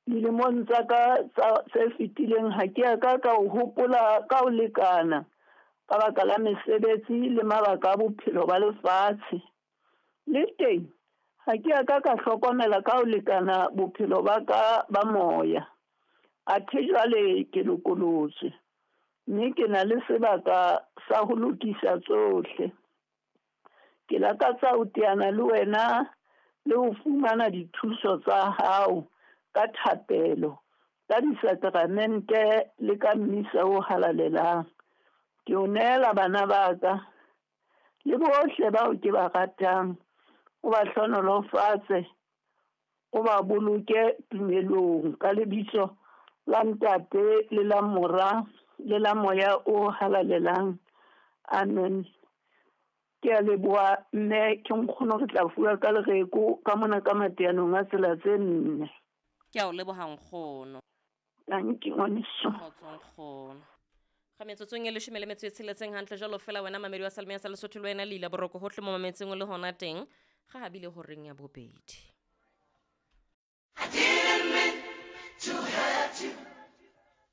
Dilemong tsa ka tse fetileng ha ke a ka ka o hopola ka ho lekana ka baka la mesebetsi le mabaka a bophelo ba lefatshe. Le teng ha ke a ka ka hlokomela ka ho lekana bophelo ba ka ba moya. Athe jwale ke lokolotswe, mme ke na le sebaka sa ho lokisa tsohle. Ke lakatsa ho teana le wena le ho fumana dithuso tsa hao ka thapelo, ka disakramente le ka mmisa o halalelang. Ke o nehela bana ba ka le bohle bao ke ba ratang. O ba hlohonolofatse, o ba boloke tumelong ka lebitso la Ntate le la Mora le la Moya o Halalelang. Amen. Ke a leboha mme ke nkgono re tla fuwa ka lereko ka mona ka mateanong a tsela tse nne. Ke a o leboha nkgono. Tanki ngwaneso. Kgotso nkgono. Ga metsotsong e leshome le metso e tsheletseng hantle jalo fela wena mamedi wa Salmea sa Lesotho le wena leila boroko hohle mo mametseng o le hona teng ga habile horeng ya bobedi.